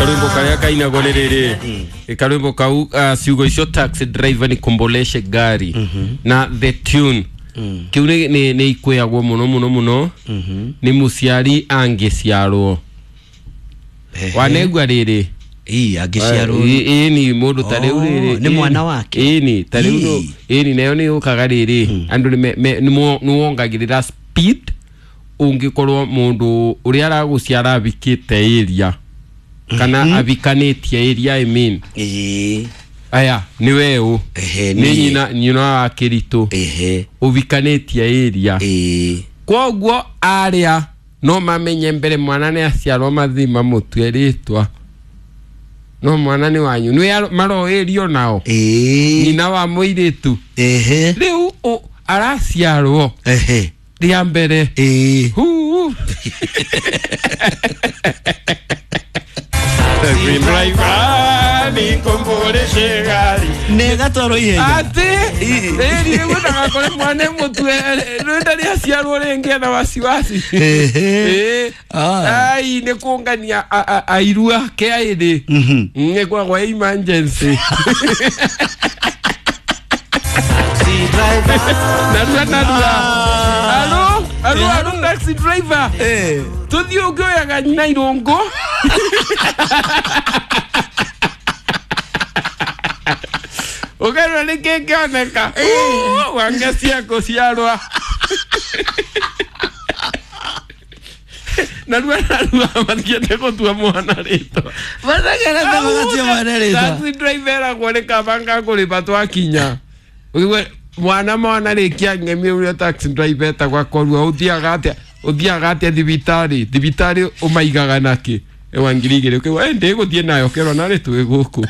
Karwimbo karia kainagwo nĩ rĩrĩ, karwimbo kau, ciugo icio "taxi driver nikomboleshe gari" na the tune kiu nĩ ikwĩagwo mũno mũno mũno nĩ mũciari angĩciarwo. Wanegua rĩrĩ? Ii, angĩciarwo. Ĩni, mũndũ ta rĩu Oh, rĩrĩ. nĩ mwana wake. Ĩni, ta rĩu ĩni, nayo nĩ yũkaga rĩrĩ, andũ nĩ wongagĩrĩra speed ũngĩkorwo mũndũ ũrĩa aragũciara avikĩte area kana avikanĩtie area, I mean. Aya nĩ weũ? Ehe, nĩ niĩ. nyina wa kĩritũ ũvikanĩtie area. Kwoguo arĩa no mamenye mbere mwana nĩ aciarwo, mathiĩ mamũtue rĩtwa, no mwana nĩ wanyu, nĩ maroĩrio nao. Nyina wa mũirĩtu. Rĩu araciarwo rĩa mbere. Huu. Taxi driver, nikomboleshe gari. Nĩ gatwarwo ihenya. Atĩ ĩri rĩu ndagakore mwana mũtue rĩu ndarĩ aciarwo rĩngĩ ena wasiwasi. Ĩĩ. Ai, nĩ kũngania airu ake aĩrĩ, nĩ kwagwa emergency narua narua. Alo, alo, alo, taxi driver. Tũthiĩ ũngĩoyaga nyina irũngũ ũkerwo nĩ kĩngĩoneka wange cia kũciarwa narua narua, mathiĩte gũtua mwana rĩtwa. Mathengerete magatua mwana rĩtwa. Taxi driver eragwo nĩ kaba ngakũrĩba twakinya. Ũigue mwana rĩkia ng'emi ũrĩa taxi driver etagwo akorwo ũthiaga atĩa, ũthiaga atĩa thibitarĩ, thibitarĩ ũmaigaga nakĩ? Ewa 2000 ũkĩgua ndĩgũthiĩ nayo kerwo narĩ twĩ gũkũ.